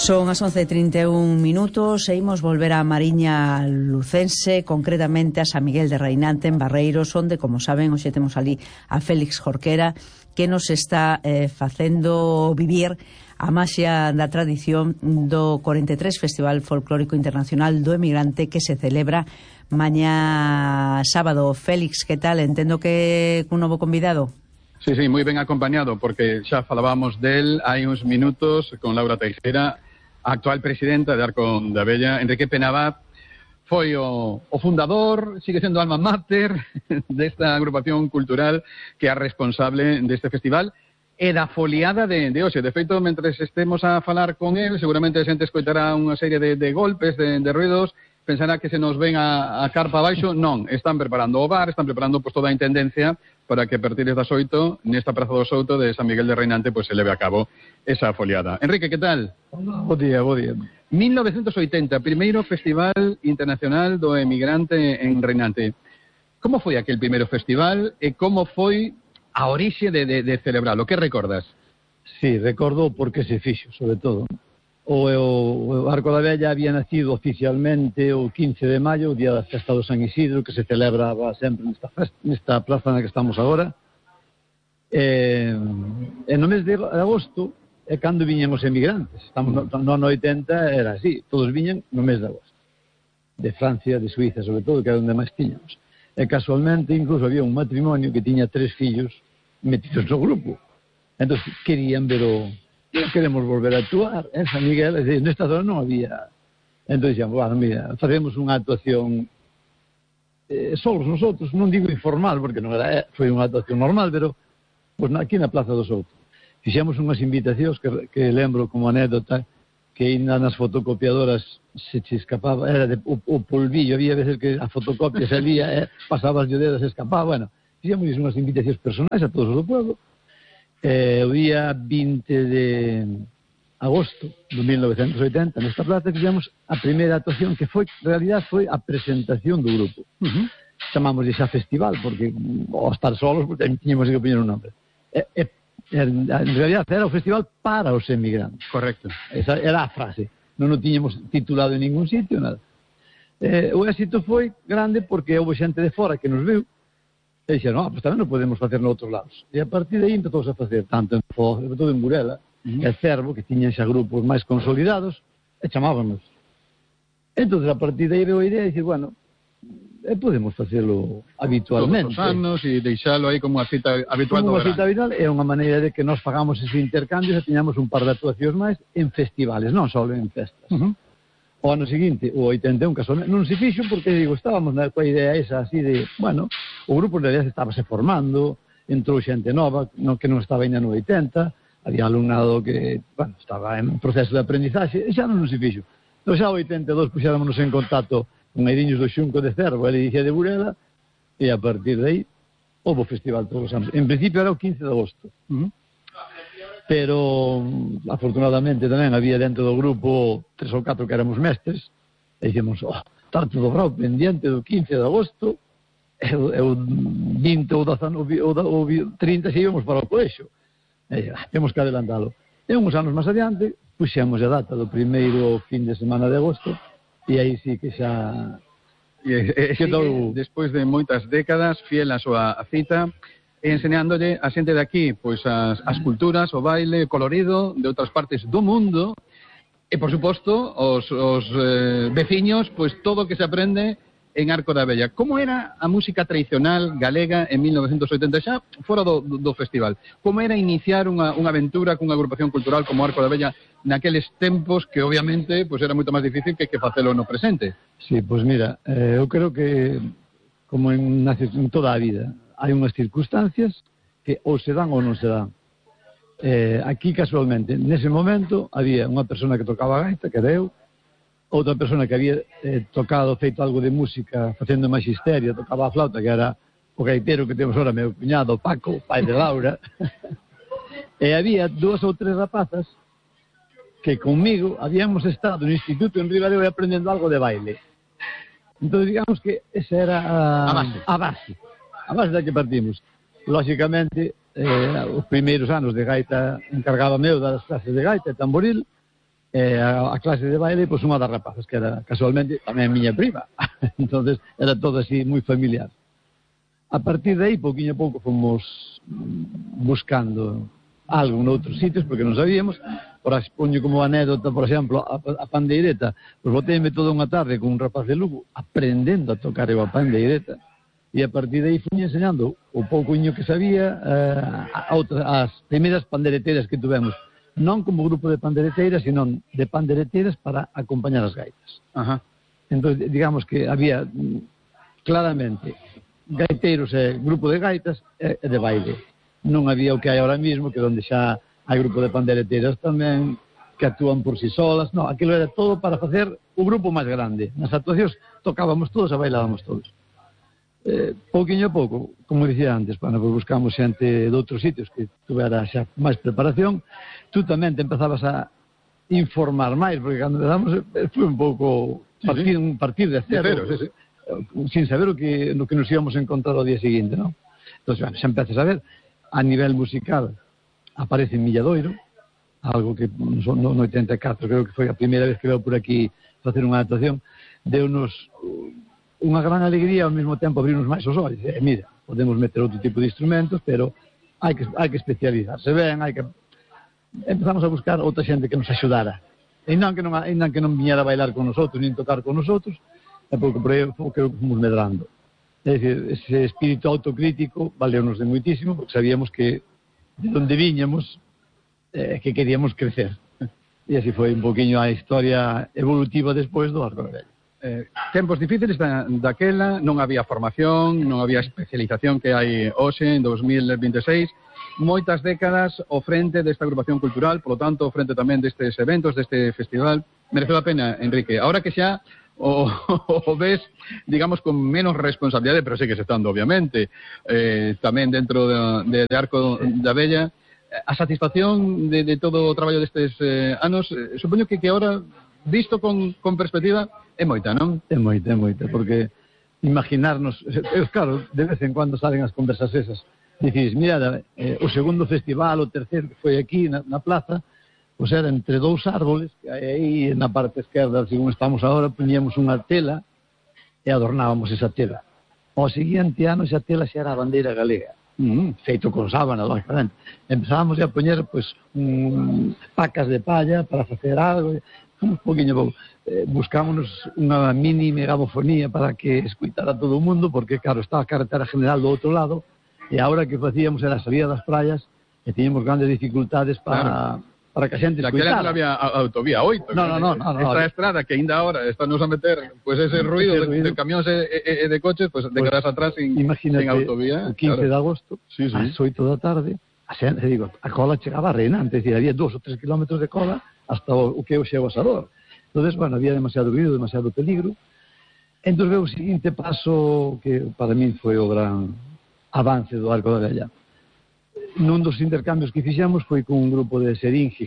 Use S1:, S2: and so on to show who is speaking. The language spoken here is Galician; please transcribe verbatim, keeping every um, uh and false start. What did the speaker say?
S1: Son as once e trinta e un minutos e imos volver á Mariña Lucense, concretamente a San Miguel de Reinante en Barreiros, onde, como saben, hoxe temos ali a Félix Jorquera, que nos está eh, facendo vivir a maxia da tradición do cuarenta e tres Festival Folclórico Internacional do Emigrante, que se celebra mañá sábado. Félix, que tal? Entendo que un novo convidado.
S2: Sí, sí, moi ben acompañado, porque xa falábamos del hai uns minutos con Laura Teixeira, a actual presidenta de Arco da Vella. Enrique Penabat foi o, o fundador, sigue sendo alma mater desta agrupación cultural que é responsable deste festival e da foliada de, de hoxe. De feito, mentre estemos a falar con el, seguramente a xente escoitará unha serie de, de golpes, de, de ruidos, pensará que se nos ven a, a carpa abaixo. Non, están preparando o bar, están preparando pues, toda a intendencia para que a partir das oito, nesta Praza do Souto de San Miguel de Reinante, pues, se leve a cabo esa foliada. Enrique, que tal?
S3: Bo día, bo día.
S2: mil novecentos oitenta, primeiro Festival Internacional do Emigrante en Reinante. Como foi aquel primeiro festival e como foi a orixe de, de, de celebralo? Que recordas?
S3: Sí, recordo porque se fixo, sobre todo. O, o, o Arco da Vella había nacido oficialmente o quince de maio, o día da festa do San Isidro, que se celebraba sempre nesta, festa, nesta plaza na que estamos agora. E, e no mes de agosto é cando viñan os emigrantes. Estamos no, no ano oitenta era así, todos viñan no mes de agosto. De Francia, de Suiza, sobre todo, que era onde máis tiñamos. E casualmente, incluso había un matrimonio que tiña tres fillos metidos no grupo. Entón, querían ver o... queremos volver a actuar en San Miguel, es decir, nesta zona non había. Entón, dixamos, bueno, mira, facemos unha actuación eh, solos nosotros, non digo informal, porque non era, foi unha actuación normal, pero pues, aquí na Plaza do Souto. Fixemos unhas invitacións que, que lembro como anécdota, que ainda nas fotocopiadoras se che escapaba, era de, o, o polvillo, había veces que a fotocopia salía, eh, pasabas de dedos, se escapaba, bueno, fixemos unhas invitacións personais a todos os do pueblo. Eh, o día vinte de agosto de mil novecentos oitenta nesta plaza fixemos a primeira actuación, que foi, en realidad, foi a presentación do grupo. Uh-huh. Chamamos xa festival, porque ao estar solos, porque tiñamos que poñer un nombre. E, e, en realidad era o festival para os emigrantes.
S2: Correcto.
S3: Esa era a frase. Non o tiñamos titulado en ningún sitio, nada. Eh, o éxito foi grande porque houve xente de fora que nos viu e dixeron, ah, pues tamén non podemos facer noutros lados. E a partir de aí empezou a facer tanto en Foz, sobre todo en Burela, uh-huh. e Cervo, que tiñan xa grupos máis consolidados, e chamábamos. Entón, a partir de aí veo a idea de dicir, bueno, e podemos facelo habitualmente.
S2: Todos os anos e deixalo aí como a cita habitual
S3: como
S2: do verán.
S3: Como a cita habitual é unha maneira de que nos pagamos ese intercambio e teñamos un par de actuacións máis en festivales, non só en festas. Uh-huh. O ano seguinte, o oitenta e un, casualmente, non se fixo porque, digo, estábamos na coa idea esa así de, bueno, o grupo en realidad estaba se formando, entrou xente nova, no, que non estaba ainda no oitenta, había alumnado que, bueno, estaba en proceso de aprendizaxe, e xa non se fixo. Entón xa o oitenta e dos puxéramonos en contacto con Airiños do Xunco de Cervo, e dixía de Burela, e a partir de aí, houve o festival todos os anos. En principio era o quince de agosto. Uh-huh. Pero afortunadamente tamén había dentro do grupo tres ou catro que éramos mestres e dixemos, oh, está todo bravo pendiente do quince de agosto e o vinte ou trinta se íbamos para o colexo e ah, temos que adelantalo. E uns anos máis adiante puxemos a data do primeiro fin de semana de agosto e aí sí que xa
S2: e, e, sigue, despois de moitas décadas fiel a súa cita, enseñándolle a xente de aquí pois as, as culturas, o baile, o colorido de outras partes do mundo e, por suposto, os, os eh, veciños, pois todo o que se aprende en Arco da Vella. Como era a música tradicional galega en mil novecentos oitenta, xa fora do, do, do festival? Como era iniciar unha, unha aventura cunha agrupación cultural como Arco da Vella naqueles tempos que, obviamente, pois era moito máis difícil que que facelo no presente?
S3: Sí, pois mira, eh, eu creo que, como en, en toda a vida, hai unhas circunstancias que ou se dan ou non se dan. Eh, aquí, casualmente, nese momento, había unha persona que tocaba a gaita, que era eu, outra persona que había eh, tocado, feito algo de música, facendo magisterio, tocaba a flauta, que era o gaitero que temos ahora, meu cuñado, Paco, pai de Laura. E había dúas ou tres rapazas que conmigo habíamos estado no instituto en Ribadeo aprendendo algo de baile. Entón, digamos que esa era a,
S2: a base.
S3: A base. A base da que partimos. Lóxicamente, eh, os primeiros anos de gaita encargaba meu das clases de gaita e tamboril, E a, a clase de baile, pois unha das rapazas, que era casualmente tamén miña prima. Entonces era todo así moi familiar. A partir de aí, pouquinho a pouco, fomos buscando algo noutros sitios, porque non sabíamos. Por expoño como anécdota, por exemplo, a, a pandeireta, pois boteime toda unha tarde con un rapaz de Lugo aprendendo a tocar eu a pandeireta, e a partir de aí fui enseñando o poucoño que sabía eh, a outra, as primeiras pandereteiras que tuvemos, non como grupo de pandereteiras, sino de pandereteiras para acompañar as gaitas.
S2: Ajá.
S3: Entón, digamos que había claramente gaiteiros e grupo de gaitas e de baile. Non había o que hai ahora mismo, que onde xa hai grupo de pandereteiras tamén que actúan por si solas. Non, aquilo era todo para facer o grupo máis grande. Nas actuacións tocábamos todos e bailábamos todos. Eh, pouquinho a pouco, como dicía antes, bueno, pues buscamos xente de outros sitios que tuvera xa máis preparación. Tú tamén te empezabas a informar máis, porque cando empezamos foi un pouco partir, un partir de cero, de cero sí, sí. Sin saber o que, no que nos íbamos a encontrar ao día seguinte, non? Entón, bueno, xa empezas a ver, a nivel musical aparece en Milladoiro, algo que no, no oitenta e catro creo que foi a primeira vez que veo por aquí facer unha adaptación, deu-nos unha gran alegría, ao mesmo tempo abrirnos máis os olhos. E mira, podemos meter outro tipo de instrumentos, pero hai que, hai que especializarse ben, hai que... Empezamos a buscar outra xente que nos axudara. E non que non, e non, que non viñera a bailar con nosotros, nin tocar con nosotros, e pouco por aí creo que fomos medrando. É dicir, ese espírito autocrítico valeu-nos de moitísimo, porque sabíamos que de onde viñamos, eh, que queríamos crecer. E así foi un poquinho a historia evolutiva despois do Arco da Vella.
S2: Eh, tempos difíciles da, daquela, non había formación, non había especialización que hai hoxe en dos mil vinte e seis, moitas décadas ao frente desta agrupación cultural, polo tanto, ao frente tamén destes eventos, deste festival. Mereceu a pena, Enrique. Ahora que xa o, o ves, digamos, con menos responsabilidade, pero sigues estando, obviamente, eh, tamén dentro de, de Arco da Vella, a satisfacción de, de todo o traballo destes eh, anos, eh, supoño que, que ahora, visto con, con perspectiva, é moita, non?
S3: É moita, é moita, porque imaginarnos, eh, claro, de vez en cuando salen as conversas esas, dicís, mira, eh, o segundo festival, o terceiro que foi aquí na, na plaza, pois era entre dous árboles, que aí na parte esquerda, según estamos agora, poñíamos unha tela e adornábamos esa tela. Ao seguinte ano, esa tela xa era a bandeira galega. Mm, feito con sábana, lógicamente. Empezábamos a poñer, pois, um, pacas de palla para facer algo, un poquinho pouco. Eh, buscámonos unha mini megafofonía para que escuitara todo o mundo, porque, claro, estaba a carretera general do outro lado, e agora que facíamos era a salida das praias, e tiñamos grandes dificultades para... Claro. Para que a xente escuitara.
S2: Daquela non había autovía oito.
S3: No, no, no, no,
S2: esta
S3: no,
S2: estrada que ainda ahora estamos a meter pues ese ruido, ese ruido. de, de camións e, e, e de coches, pues, pues de quedas atrás sin, sin autovía.
S3: O quince claro. de agosto, sí, sí. ás oito da tarde, a xente, digo, a cola chegaba reinante, es decir, había dos ou tres kilómetros de cola hasta o, o que hoxe é o Asador. Entonces, bueno, había demasiado ruido, demasiado peligro. Entón, veo o seguinte paso que para min foi o gran avance do Arco da Vella. Nun dos intercambios que fixemos foi con un grupo de Seringi,